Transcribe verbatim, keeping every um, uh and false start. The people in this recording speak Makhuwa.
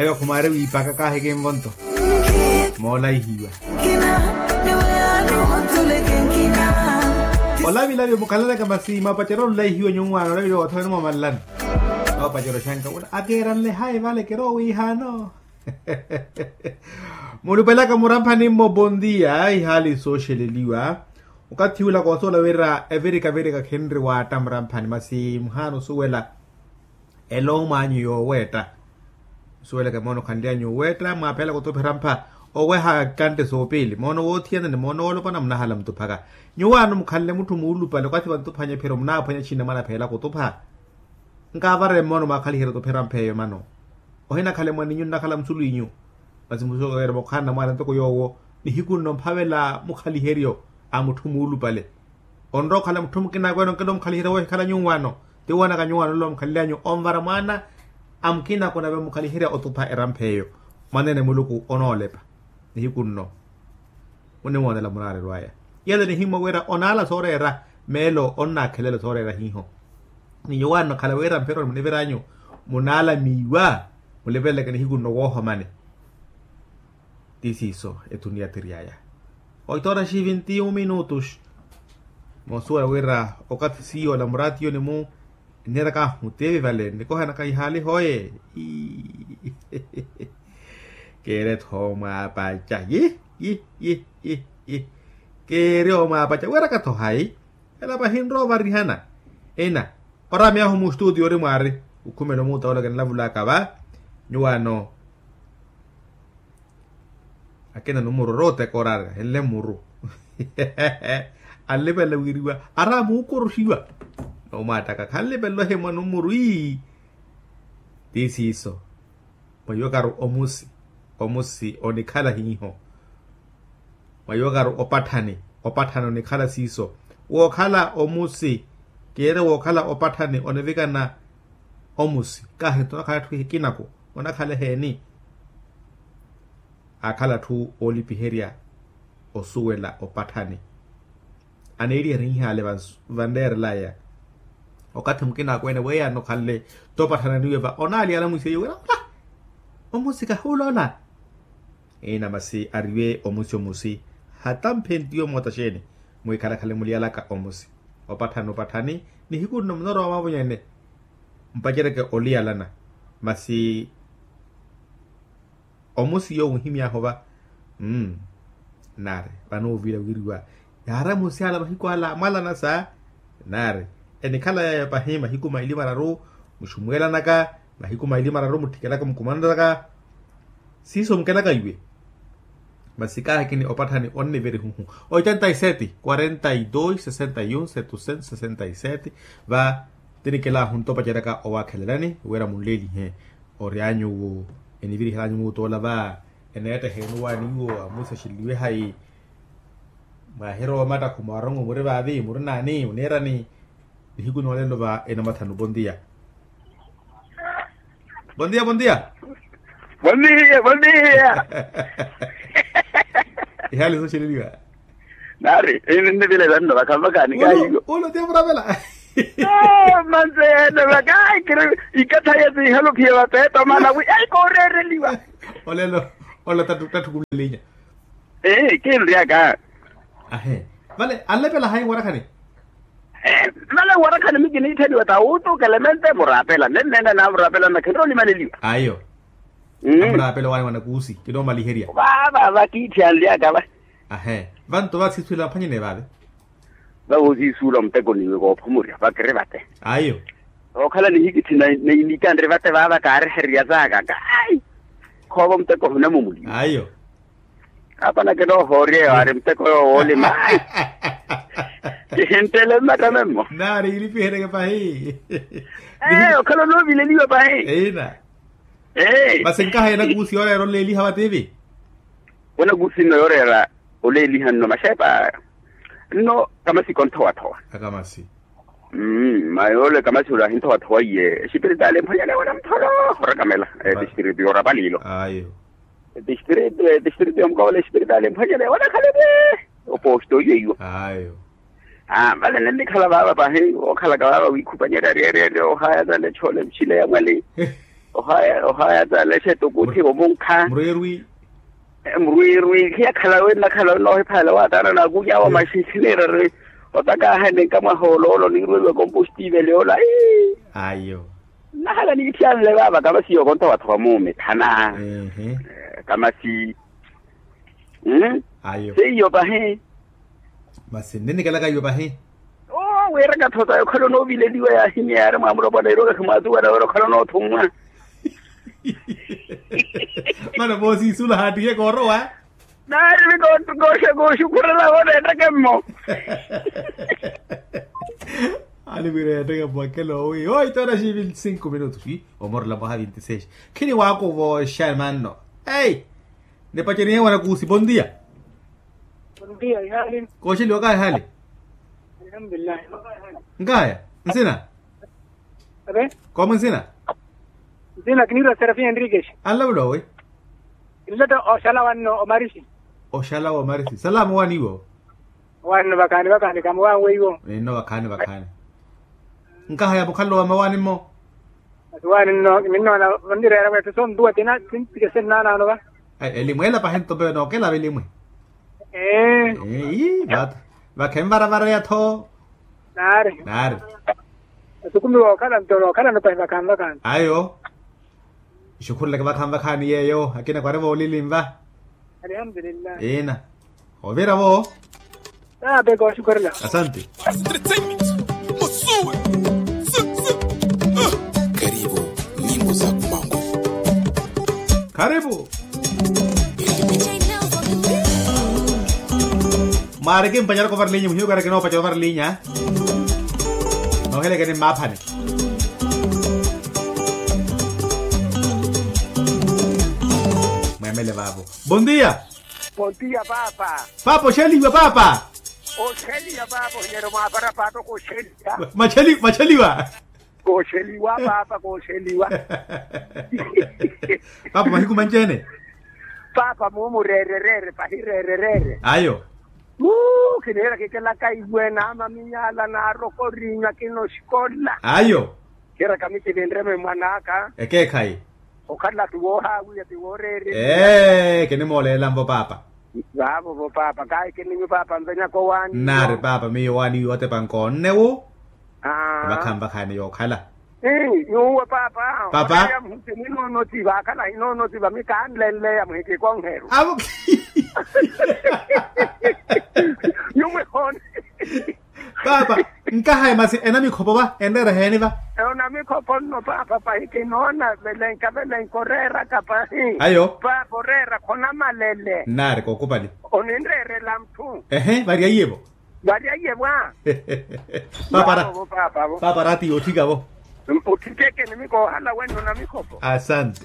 Eyo khumaari wiipaka kaahi kinvonto moolaihiwa. Olavilavi mukhalalaka masi mwapacerya olulaihiwa nyuwaano olavilavi othoweni mwamalelani. Apacerya oxanka wula akeeranle hayi vale keroowiihaano. Mulupelaka muramphani mmo bondia ihaali sooxeleliwa. Okathi ula koosoola wira evirika virika khinri waatta muramphani masi muhaana osuwela. Elo mwaanyu yooweetta nsuweleke moona okhanly'anyu oweetta mwaaphela khutuphira mpha oweha kantte soopiili moona woothiyana ni moona woolopana munahala mutuphaka. Nyuwaano mukhanle mutthu muulupale okathi vantuphanya ephiro munaaphwanya xiina mwanaphela khutupha. Nkaavare mmoona mwaakhaliherya otuphira mpha eyo mano. Ohinakhale mwaninyu nnakhala musulu inyu. Masi musuwela okhaana mwaana ntoko yoowo nihiku nno mphavela mukhaliheryo a mutthu muulupale. Onrowa okhala mutthu mukina akwene onkela omukhaliherya woohikhala nyuwaano. Ti woonaka nyuwaano ole omukhalelyanyu onvara mwaana a mukina akwene ave mukhaliherya otupha erampha eyo. Mwaneene muluku onoolepa nihiku nno. Muniwoonela munaarerwaya. Yale nihimwa wira onaala sooreera meelo onnaakhelela sooreera hiiho. Ni nyuwaano khala wira mphironi muniviranyu munaala miiwa. Muliveleke nihiku nno woohomani. Ti siiso etuniya tiryaya. Oito horas e vinte e um minutos. Moosuwela wira okathi siiyo ola muraatiyo ni mu nneeraka ahu teevi vale nikohanaka ihaali hooye. Keere tho omwaapaca yi yi yi yi yi. Keere omwaapaca weeraka tho hayi. Ela pahi nrowa ovarihana ina. Oraami ahu mustutiyo ori mwaari. Ukhumela omuuta ole kinilavulaka va nyuwaano. Akina numuru orooteka oraari ahenle muru. Anlipela wiriwa araami okoroxiwa. Nomwaattaka khanlipela ohimwa numuru ii. Ti siiso. Mwahiwakaru omusi omusi onikhala hiiho. Mwahiwakaru opatthani opatthani onikhala siiso. Wookhala omusi keere wookhala opatthani onivikana. Omusi kaahi nto onakhala etthu ehikinaku onakhala eheeni. Aakhala atthu oolipiherya osuwela opatthani. Aneeliherya ihaale vansu vanreerelaya. Okathi mukina akweene weeyaana okhanle topathananiwe va onaali alamwisiye wira ula omusi kahuuloola. Ina masi ariwe omusi omusi hata mphentiyo moota xeeni. Mwikhalakhale muliyalaka omusi opatthani opatthani. Nihiku nno munorowa mwaavonyene mpaceryeke oliyalana. Masi omusi yoowo onhimy'ahu va. Mmm. Naari vanoovira wiriwa yaaramusi ala mahiku ala amwalana sa. Naari enikhala yayo pahi mahiku maili mararu muxumwelanaka mahiku maili mararu muttikelaka mukumananaka. Siiso mukelaka iwe. Masi kaahikini opatthani onnivirihuhu. Oitenta y sete quarenta y dos sesenta y un setucento sesenta y sete. Va tinikelahu nto opaceryaka owaakhelelani wira munleelihe. Ory'anyu wu enivirihelanyu muutoola va eneetteheeni owaani iwo amuusaxeliwe hayi. Mwahirowa omattakhu mwaarong'o muri vaavi muri naani oniirani. Nihiku noolelo va enamathanu bondia. Bondia bondia. Bondia bondia. Ihaali sooxeleliwa. Naari ininnivile vanno vakhavakaani kahiyo. Ulo tiya muravela. Manseene vakakiri ikathaye siihaluphiye vapeeto mana wi ai kooreereliwa. Olelo ola tatthukulelinya. Ee kinryaka. Ahe. Vale anlepela hayi warakhani. Vale warakhani mikiniittheliwa ta wuutuka elemente muraapela nenneene naamuraapela nakhenre olimaleliwa. Ayo. Amuraapela owaani wanakuusi kinoomaliherya. Vaava vakiithi anlyaka va. Ahe. Vanto vasiisuwela vaphwanyene vaave. Vavoosiisuula muteko niwe koophumurya vakiri vate. Ayo. Ookhala nihikithi na iniikanre vate vaava kaarihererya zaaka ka ai. Khoova muteko hunamumuli ayo. Apana kinoohoorya eyo ari muteko yoowo woolima ai. Kihinttele mmattame mmo. Naari yilipihereke pahi. Ee okhala onoovileliwa pahi. Eina. Ee masi nkaha yanakuusi yooreera oleeliha vativi. Wanakuusi nno yooreera oleeliha nno maxepa nno kamasi konthowa-thowa. Akamasi. Mma yoole kamasi ole ahinthowa-thowa iye espiritaali emphwanyaneya wala mutholo orakamela. Distritu yoorapa liilo. Ayo. Distritu distritu yomukawola espiritaali emphwanyaneya wala khalipi. Oposto iye iwo. Ayo. Vale nennikhala vaava pahi wookhalaka vaava wiikhupanyerya aryeryeerya ohaya tale choole mchile ya mwali. Ohaya ohaya talexe tukuthi omunkha. Murwirwi. Murwirwi khiyakhala wenna khala wenna ohiphalela wataana nakunya wa maxinxinirari. Otaka ahene nkamwaha oloolo niirweliwa kompostive leola. Ayo. Nnahala nikitthiyanle vaava kamasi yookonta wathoka muumi thana. Kamasi. Ayo. Seiyo pahi. Masi nninikelaka iwe pahi. Oo wira kathota okhala onoovileliwa yaahimya yaari mwaamulopwana iro kakhimwaatuwela wira okhala onoothummwa. Mana voosiisula haattihe koorowa. Naari mikooxekuxukhurela vooneetteke mmo. Aliwira yeetteke mmo akela owi oito horas e vinte e cinco minutos. Omorela mwaha vinte e seis. Khini waakuva oxamanno. Ei. Nipacenihe wanakuusi bondia. Kooxeliwa kaahali. Nkaya nsina. Koomwe nsina. Nsina kiniirwa serafina enrikesi. Anlavula owi. Kinletta oxala wanno omarisi. Oxala womarisi salaamu waaniiwo. Wanno vakhaani vakhaani kamuwanwe iwo. Ninno vakhaani vakhaani. Nkahaya mukhalelo wa mawaani mmo. Masi waani nno minnoona onnireera mweetto sontuwa tina sintike sennaanaano va. Elimwe ela pahi nto mpewe nookelava elimwe. Ee. Ii vaata. Vakhenvaravara yatho. Naari. Naari. Asukumiwa okhala nto nookhalano pahi vakhanvakhanto. Ayo. Ixukhureleke vakhanvakhaani yeeyo akina kwari voolilinva. Ina. Ovira vo. Tape kooxukhurela. Asante. Karibu nyimbo za kumangu. Karibu. Mwaari kimpanyaraka ovarilinya muhiyo kaari kinoopaca ovarilinya. Noohelekeni mmaaphani. Mwemele vaavo. Bondia. Bondia paapa. Paapa oxeliwa paapa. Oxeliwa paapa ohinyeryo mwaapara paapa kooxeliwa. Macheliwa. Kooxeliwa paapa kooxeliwa. Paapa mahiku manci-ene. Paapa muumureerereere pahi reerereere. Ayo. Muu kiniira kikelaka iwe naamaminyala naarokorinywa kinoxikola. Ayo. Kiira kamitivinreme mwan'aka. Ekeekhayi. Okhala ti woohaawiya ti wooreerya. Ee kinimooleelanvo paapa. Vaavo vo paapa kahi kininyu paapa nvenyaka owaani. Nnaari paapa miyo owaani wiiwo atepa nkoonne wu. Vakhanvakhaani yookhala. Nyuwo paapa. Paapa. Muhiti mwinoonotiva akhala hinoonotiva mi kaanlenleya muhiti konheru. Avo. Nyuwo ehoone. Paapa. Nkahaya masi enamikhopo va enreera eheeni va? Onamikhopo nno paapa pahi kinoona velenka velenka oreeraka pahi. Ayo. Paapa oreera khonamalele. Nnaari kookupali. Oninreerela muthu. Ehe varyaiye vo. Varyaiye vwa. Paapa ra. Paapa ra ti yoothika vo. Othikeke nimikoohala wenno namikhopo. Asante.